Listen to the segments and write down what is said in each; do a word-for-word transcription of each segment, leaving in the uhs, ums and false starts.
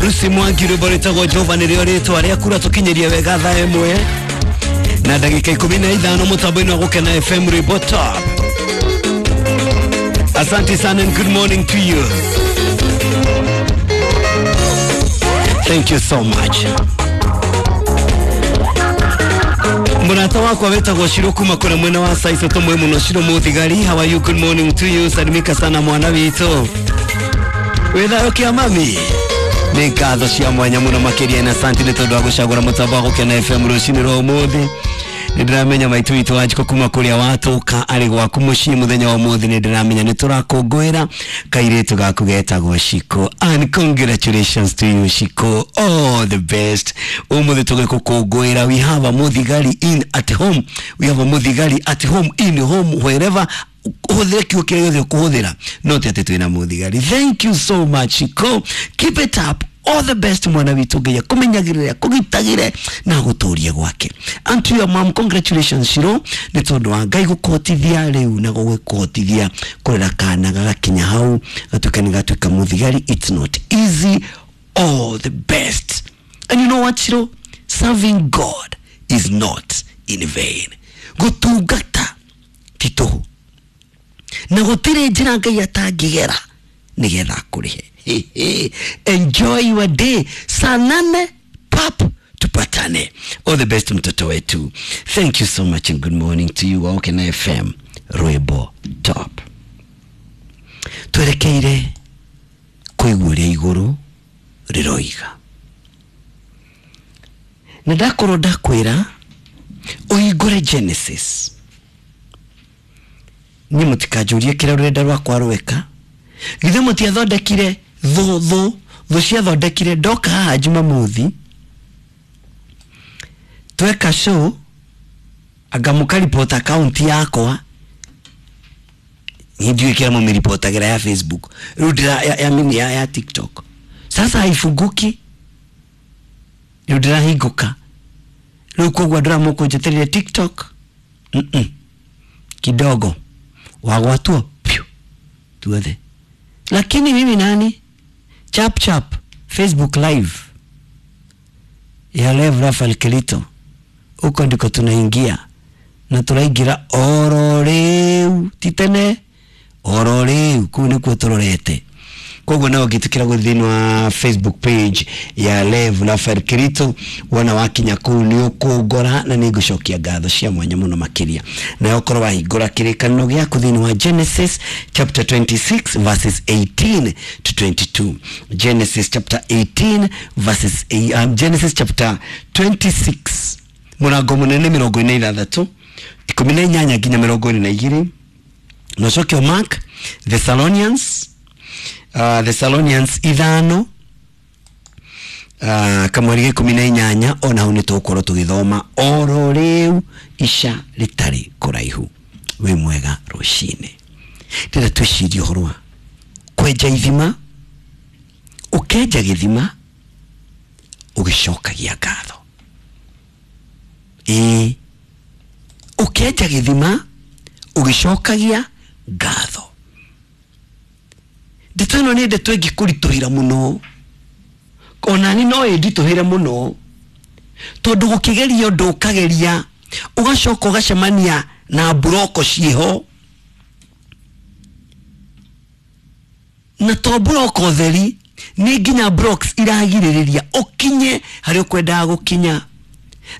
Lucy Mwangi rwĩmbo rwĩtagwo Jehova nĩrĩo rĩtwa rĩaku ratũkinyĩria wega thaa ĩmwe na ndagĩka ikũmi na ithano mũtambo-inĩ wa Gũkena F M rwĩmbo top. Asante sana and good morning to you. Thank you so much. Mũrata wakwa wetagwo Shiro kuma kũrĩa mwena wa Saiso tũmwe mũno. Shiro Mũthigari, how are you? Good morning to you. Salimika sana mwana witũ. Wĩ thayũ kĩa mami? Nĩ ngatho cia mwanya mũno makĩria na asante nĩ tondũ wa gũcagũra mũtambo wa Gũkena F M rũcinĩ rwa ũmũthĩ. Nĩ ndĩramenya maitũ witũ Wanjikũ kuma kũrĩa watũka arĩ gwaku mũciĩ mũthenya wa ũmũthĩ. Nĩ ndĩramenya nĩ tũrakũngũĩra kairĩtu gaku getagwo Shiko, and congratulations to you Shiko, all the best. Ũmũthĩ tũgĩkũkũngũĩra, we have a Mũthigari in at home, we have a Mũthigari at home, in home, wherever ũhũthĩre kiugo kĩrĩa gĩothe ũkũhũthĩra, no ti atĩ twĩna Mũthigari. Thank you so much Shiko, keep it up. All the best mwana witũ, Ngai akũmenyagĩrĩre, akũgitagĩre na agũtũrie gwake. And to your mom, congratulations Shiro, nĩ tondũ wa Ngai gũkũhotithia rĩu na gũgũkũhotithia kũrera kana gagakinya hau gatuĩka nĩ gatuĩka Mũthigari. It's not easy. All the best. And you know what Shiro, serving God is not in vain. Gũtungata ti tũhũ na gũtirĩ njĩra Ngai atangĩgera nĩgetha akũrĩhe. Enjoy your day. Saa nane pap tupatane. All the best mtoto wetu. Thank you so much and good morning to you. Gũkena F M rwĩmbo top. Twerekeire kũigua ũrĩa igũrũ rĩroiga. Na ndakorwo ndakwĩra ũhingũre Genesis. Niĩ mũtikanjũrie kĩrĩa rũrenda rwakwa rweka. Githĩ mũtiathondekire thũ thũ thũ ciathondekire ndoka haha Jumamothi tweka show anga mũkaripota account yakwa. Niĩ ndiũĩ kĩrĩa mũmĩripotagĩra ya Facebook rĩu ndĩra ya, ya, mini ya, ya TikTok sasa haifunguki, rĩu ndĩrahingũka rĩu, koguo andũ arĩa mũkũnjĩtĩrĩria TikTok mm -mm. Kidogo wagwatwo piu tuothe. Lakini mimi nani chap chap Facebook live ya Lev Rafael Kelito, huko ndiko tunaingia na turaingira oro riu titene oro riu kuu nikuo turorete. Koguo nawe ũngĩtĩkĩra gũthiĩ thĩinĩ wa Facebook page ya Lev Rafael Kirito, wona wakinya kũu nĩ ũkũngora na nĩ ngũcokia ngatho cia mwanya mũno makĩria. Na ũkorwo wahingũra kĩrĩkanĩro gĩaku thĩinĩ wa Genesis chapter twenty-six verses eighteen to twenty-two. Genesis chapter eighteen verses um, Genesis chapter twenty-six mũrango mũnene mĩrongo ĩna na ithathatũ ikũmi na inyanya nginya mĩrongo ĩrĩ na igĩrĩ. Na ũcoke Mark Thessalonians Uh, Thessalonians ithano uh, kamweri ga ikũmi na inyanya ona hau nĩ tũgũkorwo tũgĩthoma oro rĩu ica rĩtarĩ kũraihu. Wĩ mwega rũcinĩ. Ndĩrenda twĩcirie ũhoro wa kwenja ithima, ũkenja gĩthima ũgĩcokagia ngatho. Ĩĩ, ũkenja gĩthima ũgĩcokagia ngatho. Ndeto ĩno nĩ ndeto ĩngĩkũritũhĩra mũno, ona niĩ no ĩnditũhĩre mũno, tondũ gũkĩgeria ũndũ ũkageria ũgacoka ũgacemania na mburoko ciĩho, na to mburoko theri, nĩ nginya blocks iragirĩrĩria ũkinye harĩa ũkwendaga gũkinya.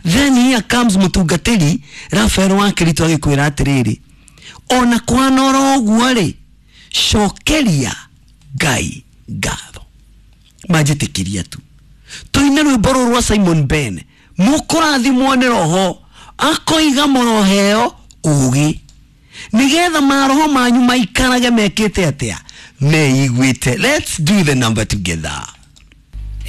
Then here comes mũtungatĩri Rafael wa Kirito agĩkwĩra atĩrĩrĩ, ona kwanora ũguo rĩ, cokeria Ngai ngatho. Manjĩtĩkĩria tu tũine rwĩmbo rũrũ rwa Simon Ben, mũkũrathimwo nĩ roho akoiga mũroheo ũgĩ nĩgetha maroho manyu maikarage mekĩte atĩa, meiguĩte. Let's do the number together.